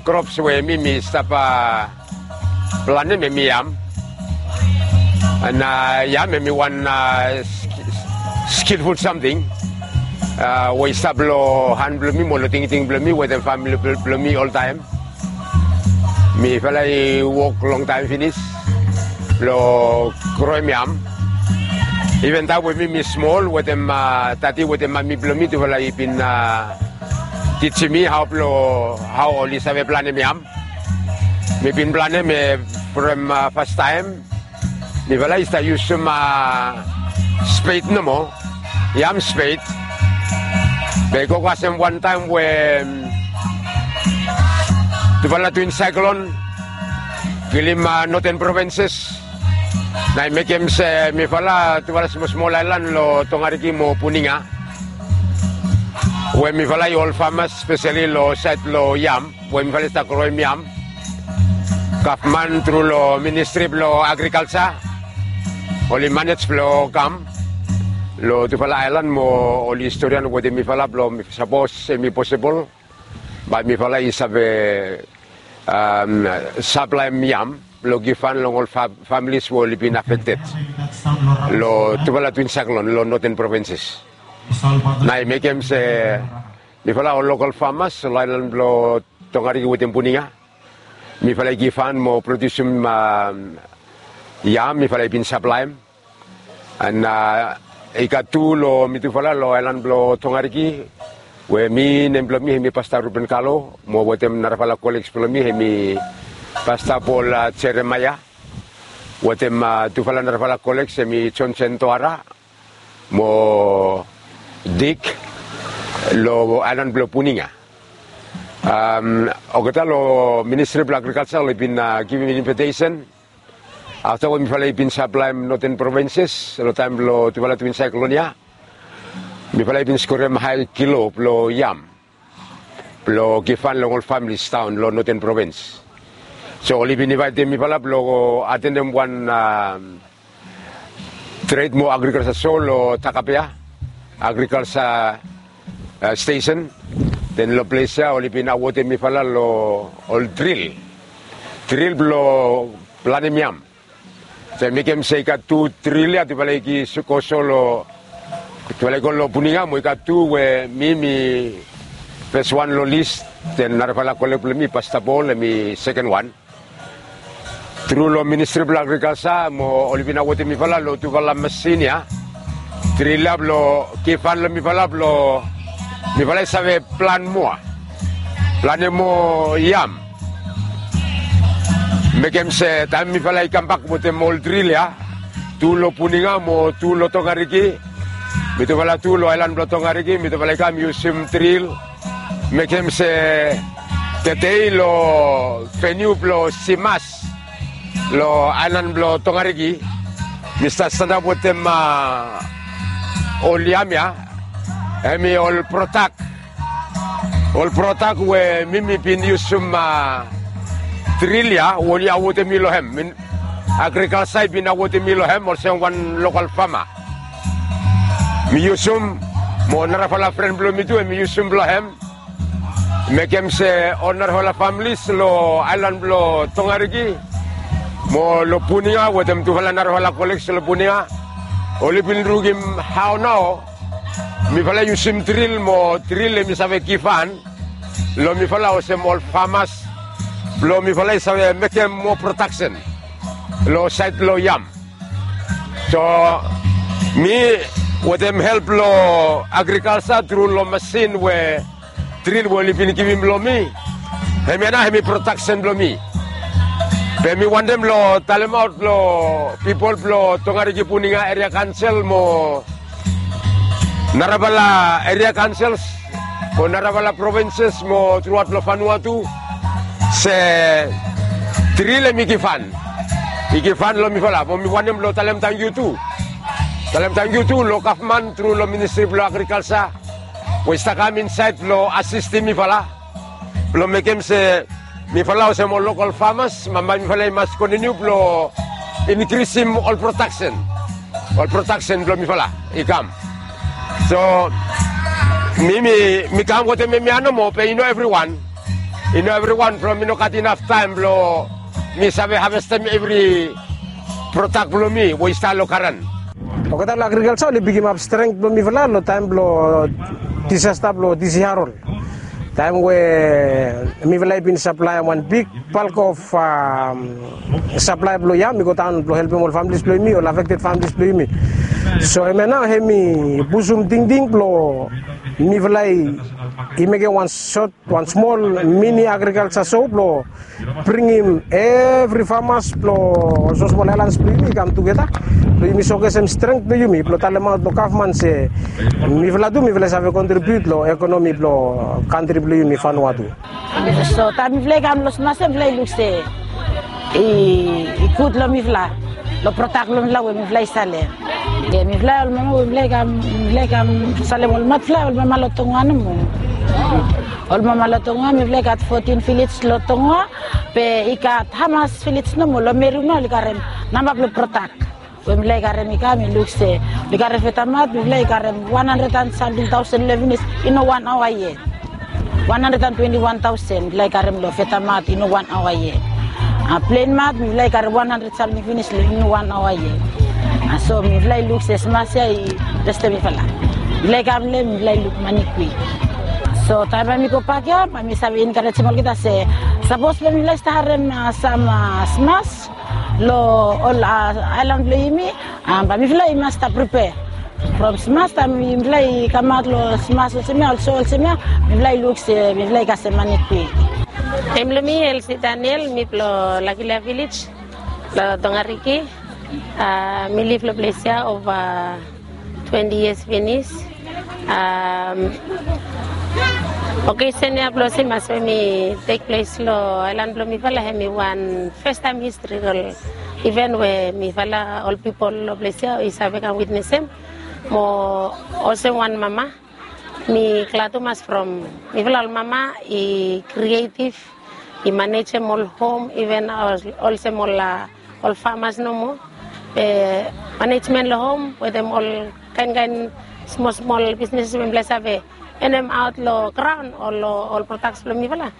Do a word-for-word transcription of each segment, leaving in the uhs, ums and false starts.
Krops we mi mi stap planem hemi yam. An yam hemi wan skilful samting we i stap long han blong mi mo long tingting blong mi wetem famili blong mi oltaem. Mifala i wok longtaem finis blong groem yam. Iven taem we mi mi smol wetem dadi wetem mami blong mi tufala i bin tijim mi hao blong hao oli save planem yam. Mi bin planem from fastaem mifala i stap yusum spet nomo, yam spet. Be i go kasem wantaem we tufala twin saiklon kilim noten provinses. Na i mekem se mifala tufala smosmol aelan long Tongariki mo Puninga we mifala i ol famas speseli long saed long yam we mifala i stap groem yam. Gavman tru long ministri blong agrikalsa oli manej blong kam long tufala aelan mo oli storian wetem mifala blong sapos hemi posibol bae mifala i save saplaem yam blong givhan long ol familis we oli bin afekted long tufala twin saiklon long noten provinses. Na i mekem se mifala ol lokal famas long aelan blong Tongariki wetem Puninga mifala i givhan mo prodiusim yam mifala i bin saplaem. An i gat tu long mitufala long aelan blong Tongariki we mi nem blong mi hemi Pasta Ruben Kalo mo wetem narafala koleks blong mi hemi Pasta Pol Jeremaea wetem tufala narafala koleks hemi Jonsen Toara mo Dik long aelan blong Puninga. Olgeta long ministri blong agrikalsa oli bin givim invitesen afta we mifala i bin saplaem noten provinses long taem blong tufala twin saiklon ya. Mifala i bin skorim hae kilo blong yam blong givhan long ol familis daon long noten provins. So oli bin invaetem mifala blong atenem wan tred mo agrikalsa so long Takapea agrikalsa stesen. Den long ples ya oli bin awodem mifala long ol dril, dril blong planem yam. So i mekem se i gat tu dril ya tufala i go so long tufala i go long Puninga mo i gat tu we mi mi fes wan long lis. Den narafala kolek blong mi Pasta Pol hemi seken wan. Tru long ministri blong agrikalsa mo oli bin awodem mifala long tufala masin ya dril ya blong givhan long mifala blong mifala i save plan moa, planem moa yam. Mekem se taem mifala i kambak wetem ol dril ya tu long Puninga mo tu long Tongariki, mitufala tu long aelan blong Tongariki mitufala i kam yusum dril. Mekem se tede long veniu blong Simas long aelan blong Tongariki mi stap stanap wetem ol yam ya hemi ol prodak, ol prodak we mi mi bin yusum dril ya we oli awodem mi long hem. Agrikalsa i bin awodem mi long hem olsem wan lokal fama. Mi yusum mo narafala fren blong mi tu hemi yusum blong hem. Mekem se ol narafala familis long aelan blong Tongariki mo long Puninga wetem tufala narafala koleks long Puninga oli bin lukim hao nao mifala i yusum dril mo dril hemi save givhan long mifala olsem ol famas blong mifala i save mekem moa prodaksen long saed blong yam. So mi wetem help blong agrikalsa tru long masin we dril we oli bin givim long mi, hemia nao hemi prodaksen blong mi. Be mi wantem long talemaot long pipol blong Tongariki Puninga eria kaonsel mo narafala eria kaonsels mo narafala provinses mo truaot long Vanuatu se dril hemi givhan, i givhan long mifala mo mi wantem long talem tangkiu tu. Talem tangkiu tu long gavman tru long ministri blong agrikalsa we i stap kam insaed blong asistem mifala blong mekem se mifala olsem ol lokal famas bambae mifala i mas kontiniu blong inkrisim ol prodaksen, ol prodaksen blong mifala i kam. So mi mi mi kam wetem hemia nomo be i no evriwan. I no evriwan from mi no gat inaf taem blong mi save havestem evri prodak blong mi we i stap long garan. Olgeta long agrikalsa oli bigimap strength blong mifala long taem blong disasta blong disi harol. Taem we mifala i bin saplaem wan big balk of saplae blong yam i go daon blong helpem ol familis blong yumi, ol afekted familis blong yumi. So hemia nao hemi pusum tingting blong mifala i mekem wan sot, wan smol mini agrikalsa show blong bringim evri famas blong ol smosmol aelans blong yumi i kam tugeta blong yumi sokesem strength blong yumi blong talemaot long gavman se mifala tu mifala i save kontribiut long ekonomi blong kantri blong yumi Vanuatu. So taem mifala i kam long smas ya mifala i luk se i gud long mifala long prodak blong mifala we mifala i salem. Mifala ol mama we mifala i kam, mifala i kam salem ol matfala ol mama long Tonga nomo. Ol mama long Tonga mifala i gat fotin vilej long Tonga, be i gat hamas vilej nomo long Meru nao oli karem namba blong prodak we mifala i karem i kam i luk se oli karem fetamat mifala i karem wan handred and samting taosen long finis i no wan aoa yet. Wan handred and twenti wan taosen mifala i karem long fetamat i no wan aoa yet. Plenmat mifala i karem wan handred samting finis long i no wan aoa yet. So mifala i luk se smas ya i restem mifala. Mifala i kam long hem mifala i luk mane kwik. So taem bae mi gobak ya bae mi save enkarejem olgeta se sapos bae mifala i stap harem sam smas long ol aelan blong yumi, bae mifala i mas stap pripea. From smas taem mifala i kamaot long smas olsem ya, ol so olsem ya, mifala i luk se mifala i kasem mane kwik. Nem blong mi Elsie Daniel, mi blong Lakilia vilej long Tongariki. Mi liv long ples ya ova twenti yias finis. Okesen ya blong simas we mi tek ples long aelan blong mifala hemi wan fastaem historikol iven we mifala ol pipol long ples ya i save kam witnesem. Mo olsem wan mama mi glad tumas from mifala ol mama i krietiv, i manejem ol hom iven olsem ol famas nomo. Manejmen long hom wetem ol kaenkaen smolsmol bisnis we mifala i save enemaot long graon o long ol prodaks blong mifala.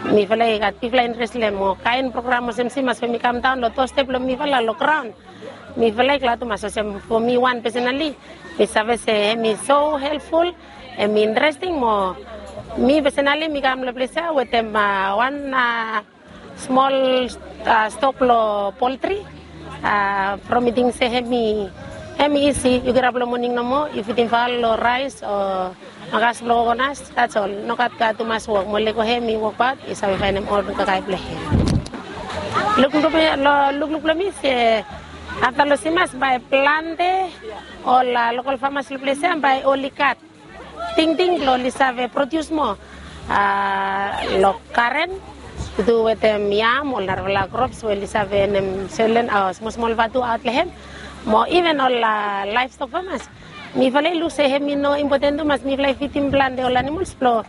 Mifala i gat bigfala interes long hem o kaen program olsem simas we mi kamdaon long dostep blong mifala long graon. Mifala i glad tumas olsem fo mi wan pesenali mi save se hem i so helpful, hem i interesting mo mi pesenali mi kam long ples ya wetem wan smol stok long poltri. From mi ting se hem i isi, yu girap long moning nomo yu fidim faol long raes o makas blong kokonas, dats ol. Nogat gat tumas wok mo lego hem i wokbaot i save faenem ol kakae blong hem. Lukluk blong mi se afta long simas bae plante ol lokol famas long ples ya bae oli gat tingting blong oli save prodius moa long garen tu wetem yam ol narafala krops we oli save nem selen o smosmol vatu aot long hem. Mo iven ol laevstok famas mifala i luk se hem i no impoten tumas mifala i fidim plante ol animols blong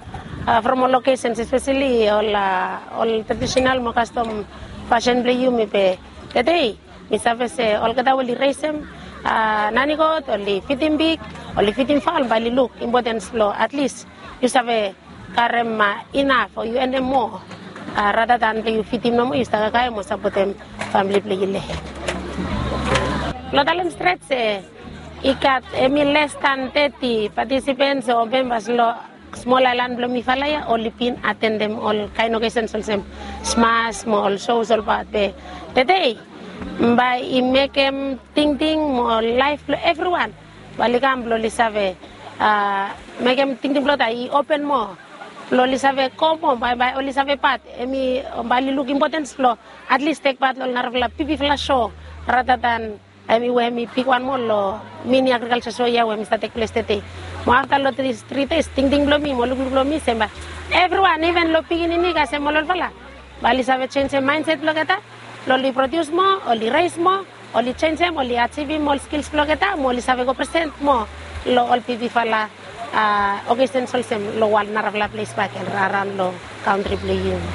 from ol lokesens espeseli ol ol tradisenal mo kastom fasin blong yumi be tede mi save se olgeta we oli resem nanigot oli fidim pig, oli fidim faol bae oli luk impotens blong atlis yu save karem inaf o yu enem moa rata dan blong yu fidim nomo yu stap kakae mo sapotem famili blong yu long hem. Long talem stret se i gat hem i les dan teti patisipens o membas long smol aelan blong mifala ya oli bin atendem ol kaen okesens olsem smas mo ol sos olbaot be tede bae i mekem tingting mo laef blong evriwan bae oli kam blong oli save mekem tingting blong olgeta i open moa blong oli save go moa bae bae oli save pat hem i bae oli luk impotens blong atlis tek pat long ol narafala bigfala so rata dan hem i we hem i bigwan moa long mini agrikalsa so ya we hem i stap tek ples tede. Mo afta long dis tri des tingting blong mi mo lukluk blong mi se bae evriwan iven long pikinini kasem ol olfala bae oli save jenijem maenset blong olgeta blong oli prodius moa, oli res moa, oli jenijem, oli ajivim ol skils blong olgeta mo oli save go present moa long ol bigfala okesens olsem long wan narafala ples bakegen raraon long kantri blong yumi.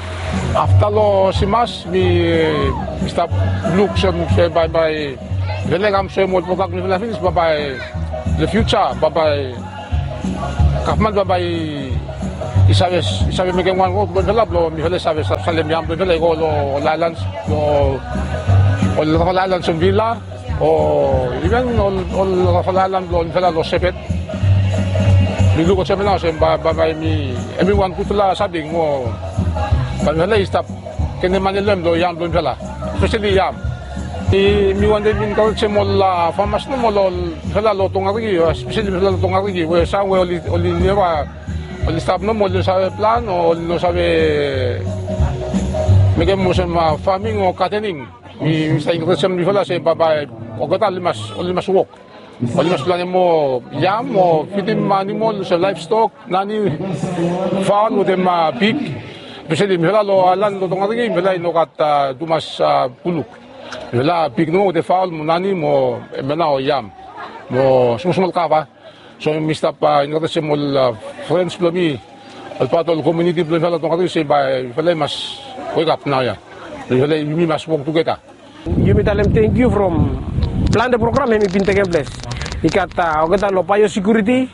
Afta long simas mi stap luk olsem se bae bae mifala i kam soem ol prodak blong mifala finis bae bae long fiuja bae bae gavman bae bae i I save, i save mekem wan rod blong mifala blong mifala i save salem yam blong mifala i go long ol aelan, long ol rafal aelan, Somvila, o iven ol, ol rafal aelan blong mifala long Sepet. Mi luk olsem nao olsem bae, bae, bae mi, hemi wan gudfala samting mo bae mifala i stap genem mane long hem long yam blong mifala, espeseli yam. Mi, mi wantem enkarejem ol, a, famas nomo long mifala long Tongariki, espeseli mifala long Tongariki we sam we oli, oli neva, oli stap nomo, oli no save plan o oli no save mekem olsem, a, faming o gadening. Mi, mi stap enkarejem mifala se bae, bae olgeta oli mas, oli mas wok. Oli mas planem moa yam o fidim animol olsem laevstok, nani, faol wetem, a, pig. Espeseli mifala long aelan long Tongariki mifala i no gat, a, tumas, a, buluk. Mifala pig nomo wetem faol mo nani mo hemia nao yam mo smol smol kava. So mi stap, a, enkarejem ol, a, frens blong mi, ol pat ol komuniti blong mifala long Tongariki se bae mifala i mas wekap naoia. Mifala, yumi mas wok tugeta. Yumi talem tangkiu from plante program hemi bin tekem ples. I gat, a, olgeta long biosekuriti,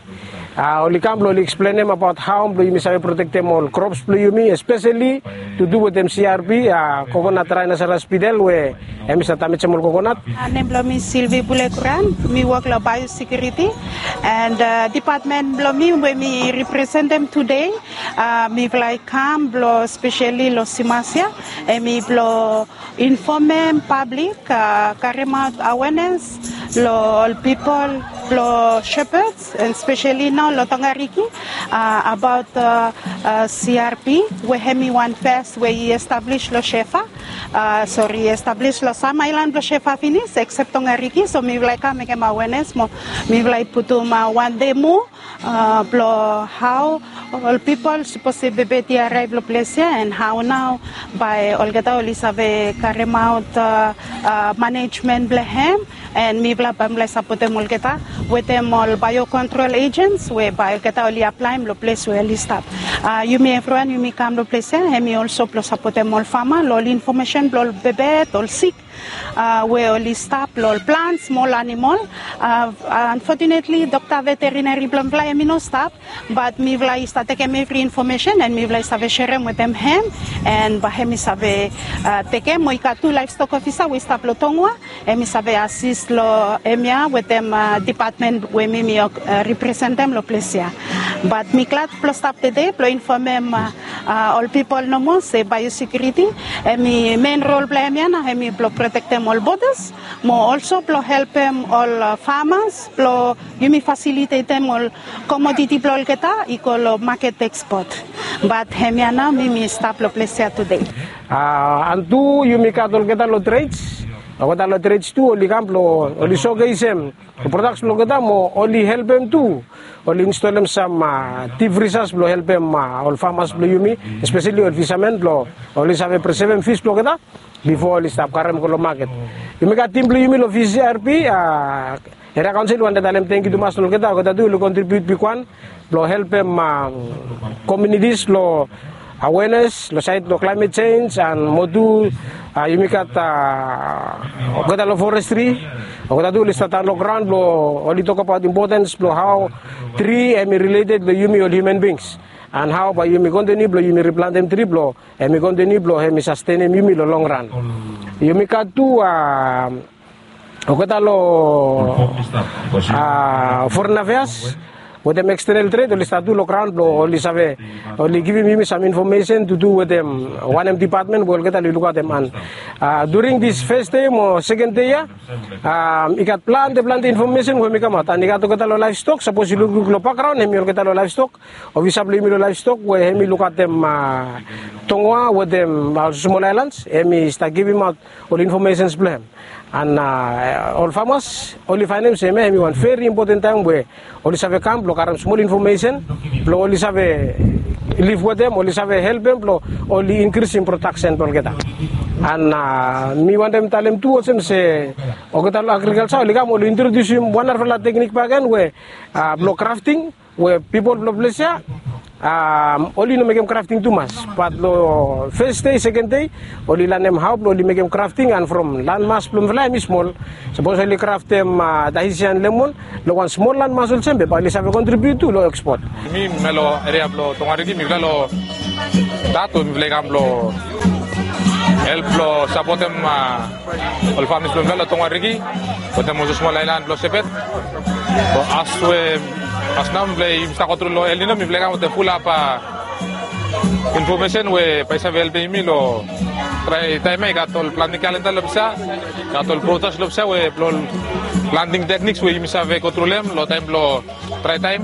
a, oli kam blong oli eksplenem abaot hao blong yumi save protektem ol krops blong yumi, espeseli tu du wetem C R P, a, kokonat rainasaras bitel we hemi stap damejem ol kokonat. A, nem blong mi Sylvie Bulekuran, mi wok long biosekuriti, and, a, dipatmen blong mi we mi representem tude, a, mifala i kam blong espeseli long Simasia, hemi blong infomem pablik, a, karemaot awenes long ol pipol blong Shepherds, and espeseli nao long Tongariki, a, abaot, a, a, C R P we hemi wan fes we i establis long Shefa, a, sori, i establis long sam aelan blong Shefa finis, eksep Tongariki. So mifala i kam mekem awenes mo mifala i putum, a, wan demo, a, blong hao ol pipol sapos se bebet i araev long ples ya, and hao nao bae olgeta oli save karemaot, a, a, manejmen blong hem, and mifala bae mifala i sapotem olgeta wetem ol biocontrol agents we bae olgeta oli aplaem long ples we oli stap. A, yumi evriwan yumi kam long ples ya hemi olso blong sapotem ol fama long ol infomesen blong ol bebet, ol sik, a, we oli stap long ol plants mo ol animol. A, unfortunately, dokta veterineri blong mifala hemi no stap, bat mifala i stap tekem evri infomesen and mifala i save serem wetem hem, and bae hemi save, a, tekem. Mo i gat tu laevstok ofisa we i stap long Tongua, hemi save asis long hemia wetem, a, dipatmen we mi, mi, a, representem long ples ya. Bat mi glad blong stap tede blong infomem, a, a, ol pipol nomo se biosekuriti hemi men rol blong hemia nao hemi blong protektem ol bodas mo olso blong helpem ol, a, famas blong yumi fasilitetem ol komoditi blong olgeta i go long maket ekspot. Bat hemia nao mi, mi stap long ples ya tude. A, and tu yumi gat olgeta long treds, olgeta long treds tu oli kam blong oli sogesem prodaks blong olgeta mo oli helpem tu oli instolem sam, a, dip frizas blong helpem, a, ol famas blong yumi, espeseli ol fisamen blong oli save presevem fis blong olgeta bifo oli stap karem go long maket. Yumi gat tim blong yumi long V C R P, a, Eria Kaonsel, wantem talem tangkiu tumas long olgeta, olgeta tu oli kontribiut bigwan blong helpem, a, komunitis long awenes long saed long klaemet jenj, and mo tu, a, yumi gat, a, olgeta long forestri, olgeta tu oli stap daon long graon blong oli tokbaot impotens blong hao tri hemi rileted long yumi ol hiuman bings, and hao bae yumi kontiniu blong yumi riplantem tri blong hemi kontiniu blong hemi sastenem yumi long long ran. Yumi gat tu, a, olgeta long, a, foren afeas wetem ekstenel tred oli stap tu long graon blong oli save, oli givim yumi sam infomesen tu du wetem wanem dipatmen we olgeta oli lukaotem. And, a, during dis fes dei mo seken dei ya, a, i gat plante, plante infomesen we hemi kamaot. And i gat olgeta long laevstok, sapos yu lukluk long bakgraon hemi olgeta long laevstok, ofisa blong yumi long laevstok we hemi lukaotem, a, Tongua wetem, a, smol aelans, hemi stap givimaot ol infomesens blong hem. And, a, ol famas oli faenem se hemia hemi wan veri impoten taem we oli save kam blong karem smol infomesen blong oli save liv wetem, oli save helpem blong oli inkrisim prodaksen blong olgeta. And, a, mi wantem talem tu olsem se olgeta long agrikalja oli kam oli introdiusim wan narafala teknik bakegen we, a, blong grafting, we pipol blong ples ya Oli no mekem krafting tumas, bat long fes dei, seken dei, oli lanem hao blong oli mekem krafting. And from lan mas blong mifala hem i smol. Sapos oli kraftem tahisian lemon long wan smol lan mas olsem be bae oli save kontribiut tu long ekspot. Mi mi long eria blong Tongariki, mifala long dat we mifala i kam blong help blong sapotem ol familis blong mifala long Tongariki wetem olsem smol aelan blong Sepet. As we as nao mifala i stap go tru long El Nino, mifala i kam wetem fulap infomesen we bae i save helpem yumi long trae taem ya. I gat ol planting kalenda long ples ya, i gat ol brochures long ples ya we blong ol planting tekniks we yumi save go tru long hem long taem blong trae taem,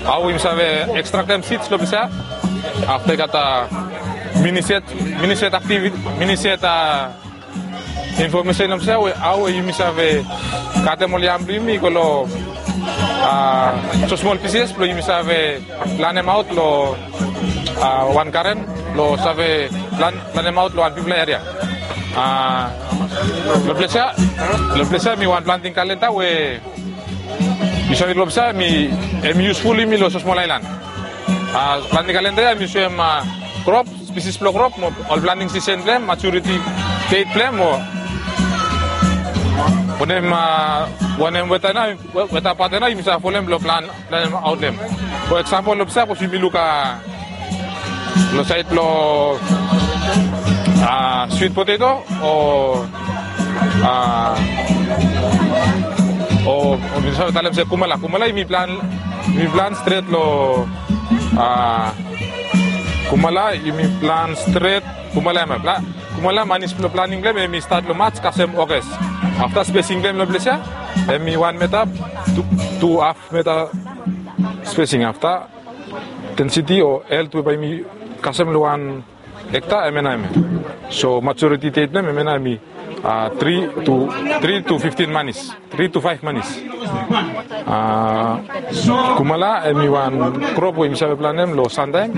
hao yumi save ekstraktem sids long ples ya. Afta i gat miniset, miniset aktiviti, miniset infomesen long ples ya we hao we yumi save katem ol yam blong yumi i go long smosmol pises blong yumi save planem aot long wan garen blong save plan planem aot long wan bigfala eria. Long ples ya, long ples ya hem i wan planting kalenda we yu save long ples ya hem i yusful yumi long smosmol aelan. Planting kalenda ya hem i soem krop, spesis blong krop mo ol planting sisen blong hem, maturiti deit blong hem mo wanem, wanem weta nao, weta paten nao yumi save folem blong plan planem aot long hem. For eksampol long ples ya sapos yumi luk long saed blong swit poteto o o mi save talem se kumala, kumala yumi plan, yumi plan stret long kumala yumi plan stret. Kumala hem i plan, kumala manis blong planing blong hem hem i stat long Maj kasem Oges. Afta spesing blong hem long ples ya hem i wan meta, tu haf meta spesing. Afta densiti o elt we bae yumi kasem long wan ekta, hemia nao hemia. So majoriti deit blong hem hemia nao hem i tri tu, tri tu fiftin manis, tri tu faef manis. Kumala hem i wan krop we yumi save planem long santaem.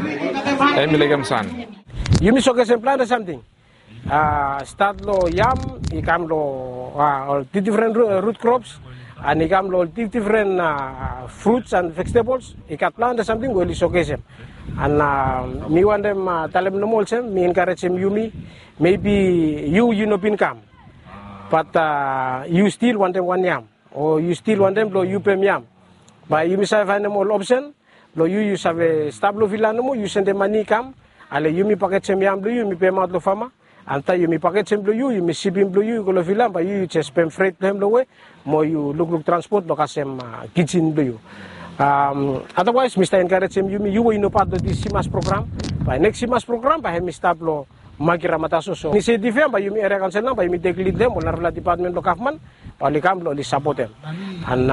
Hem i laekem san. Yumi sogesem plante samting. Stat long yam, i kam long ol difdifren rut krops, and i kam long ol difdifren fruts and vejetables. I gat plante samting we oli sogesem. And mi wantem talem nomo olsem, mi enkarejem yumi, mebi yu, yu no bin kam, bat yu stil wantem wan yam, o yu stil wantem blong yu pem yam, bae yumi save faenem ol opsen blong yu, yu save stap long vila nomo, yu sendem mane i kam, ale yumi pakejem yam blong yu, yumi pemaot long fama. Afta yumi pakejem blong yu, yumi sipim blong yu i go long vila, bae yu, yu jes pem fret blong hem long we mo yu lukluk transpot blong kasem kijin blong yu. Adawaes mi stap enkarejem yumi, yu we yu no pat long dis Simas program, bae neks Simas program bae hem i stap long Magiramatasio. So inisetiv ya bae yumi eria kaonsel nao bae yumi tek lid long hem, ol narafala depatmen blong gavman bae oli kam blong oli sapotem. And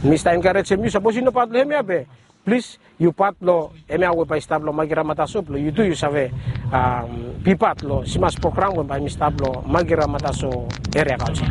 mi stap enkarejem yu, sapos yu no pat long hemia be plis yu pat long hemia we bae i stap long Magiramatasio blong yu tu yu save bipat long Simas program we bae hem i stap long Magiramatasio eria kaonsel.